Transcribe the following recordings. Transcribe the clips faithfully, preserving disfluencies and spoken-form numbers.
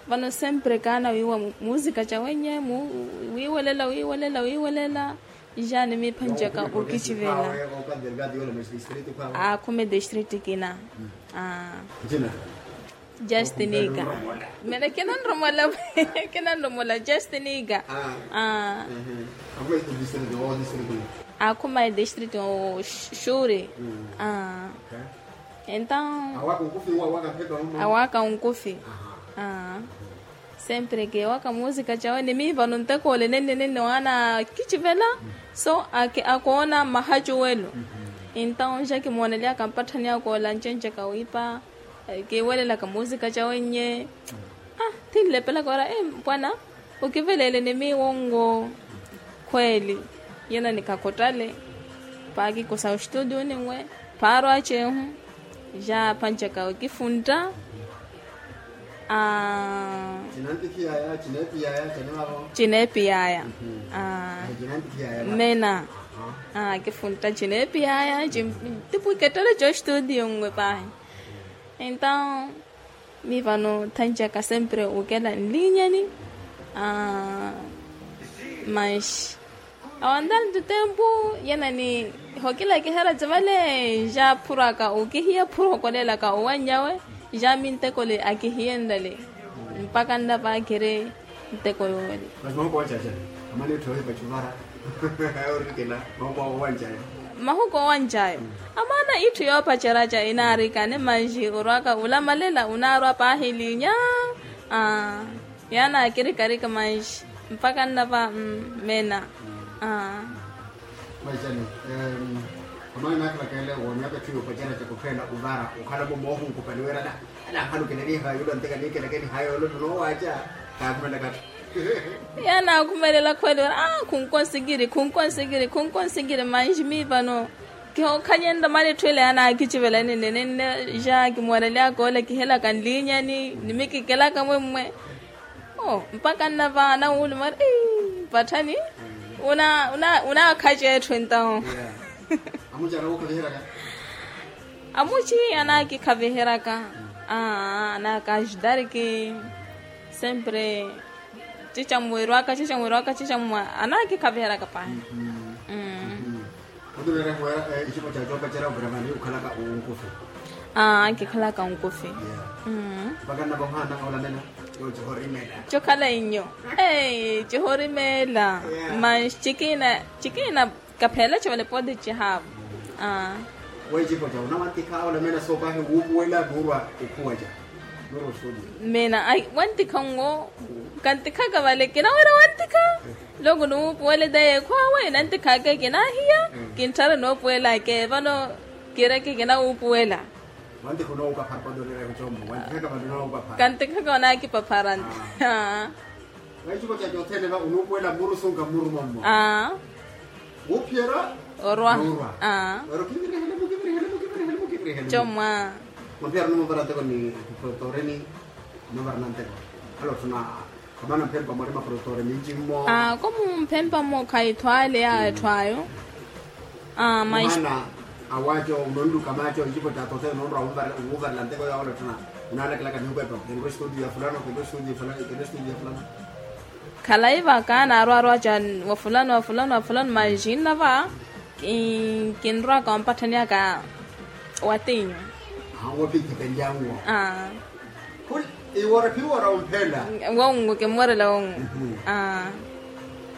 Vano sempre kaana wiiwa muusika cawenye. Wiiwelela wiiwelela wiiwelela. Jaani miiphanjaka okitivela. Akhume district kina. Justiniika. Mene kinanromola. Kinanromola justiniika. Akhuma edistrict oxuuri. Entaw awaaka onkufi. Sempre keewaka muusika cawe ni miivano ntekoole nenne nenne waana akicivela. So akoona mahacuwelo. Entaw ja kimooneleyaka mpatthani akoola ncenjaka wiipa. Kiiwelelaka muusika cawe nnye. Thinlepelaka ora mpwana. Okiveleele ni miiwongo. Khweeli. Yena ni kakhottale. Paakikosa oxituudiyo ninwe. Phaarwa ceehu. Ja phanjaka okifuntta. Cineepiyaya. Mena. Kifuntta cineepiyaya. Tipwikettere coxituudiyo nwe paahi. Entaw miivano thanjaka sempre okela nliinyani. Manxi awantantu tempu. Yena ni hokila kihera cavale. Ja phurwaka okihiya phurwa okoleelaka owanyawe. Ja mintekole akihiyenlale. Mpaka nnava akhire nteko yoole. Mahuku owancayo. Amaana itthu yoopacerya ca inaarikane manxi orwaka olamalela onaarwa paahi liinya. Yaana akirikarika manxi mpaka nnava. Mena. Maixani. Amaana naakhalaka ele wa myaka etthu yoopacerya ca kuphela ovara okhala-mo moohunkupani wira ala akhala okinaniha yula ntika niikelakeniha yoole nno noowaca. Kaakhumelaka atthu. Yaana akhumelela khwele ori khunkonsikiri khunkonsikiri khunkonsikiri manxi mii vano. Kihookhanyenrya mani etthu ela yaana akicivela nenne nenne. Ja kimoorelyaka ole kihelaka nliinyani ni mikikelaka mwemmwe. Mpaka nnava anawuluma ari patthani. Unaakhaca etthu entawo. Amuci anaakikhaviheryaka. Anaakajudariki. Sempre cicamu wirwaka cicamu wirwaka cicamu anaakikhaviheryaka paahi. Otumeera kuwa icipo ca coopacerya oviramani okhalaka onkufi. Aa kikhalaka onkufi. Mpaka nnava ohaana olamela. Cokhala inyo. Cihorimela. Manxi cikina cikina. Kapheela civale pooti cihaavu. Weecipo ca unawantikha olamela soopahi wuupuwela nuurwa okhuwa ca. Mena ai wantikha nwo. Kantikhaka vale kinawira wantikha. Loko nuupuwele taye ekhwawe nantikhaka kinaahiya. Kintthara noopuwelaka vano kireke kinawuupuwela. Kantikhaka onaakipaphara. Weecipo ca cothene va unuupuwela muru sunka muru mommo. Wuuphiyerya orwa. Ero kivirihele mukivirihele mukivirihele mukivirihele. Comwa. Mwaphiyara onumuvara nteko ni profetoreni. Onuvara nanteko hala ottuna. Khamana mphempa mwari maprofetore minci mmo. Komu mphempa mmo khaithwaale ya etthu ayo. Mwaana awaco unonluka maco icipo ca tothe ononrwa. Onwuvarela nteko ya olottuna. Onalakelaka nihupepa kinrwa estudio ya fulano kinrwa estudio ya fulano. Khalayi vaka naarwarwa ca wa fulano wa fulano wa fulano manxi nnava. Kinrwaka wampatthani aka watinyu. Wopikhipenlyanwo. Iwora phiwora omphela. Wongo kimorela wongo.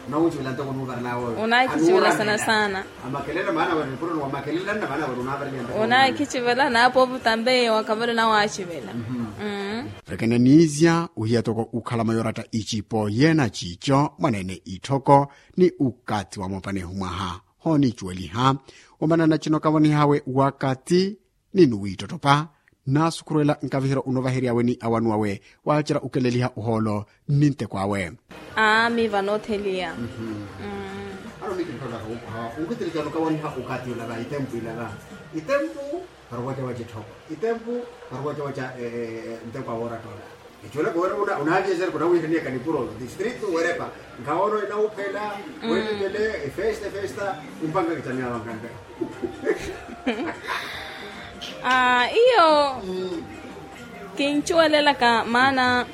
Nawucivela ntoko nuvarela woyo. Unakicivela sana sana. Amakelela maana wene mpuro ni wamakelela nna maana wene unavarela ntoko. Unakicivela naapovu tambe wakavelo nawacivela. Rekenanizya uhiya toko ukhala mayoratta icipo yena cico mwanene itthoko ni ukati wa moopanehu mwaha. Hoonicuweliha omanana cino kavonihawe wakati ni nuwiittottopa. Naasukhurwela nkaviheryo onovaheryaawe ni awanu awe waacera okeleliha ohoolo ni nteko awe. Aami vanootheliya. Ano mikintthoolaka wuupuha wunkhutirikana okavoniha okati olava itempu ilava. Itempu varuwaca waca etthoko. Itempu varuwaca waca nteko awe oratta ola. Ecoolaka wira unaaviyeserya kunawiihaniyaka nipuro distrito werepa. Nkhawono enawuphela wetipele efesta efesta. Umpanga kitamyaawa nkanka. Iyo kincuwelelaka maana.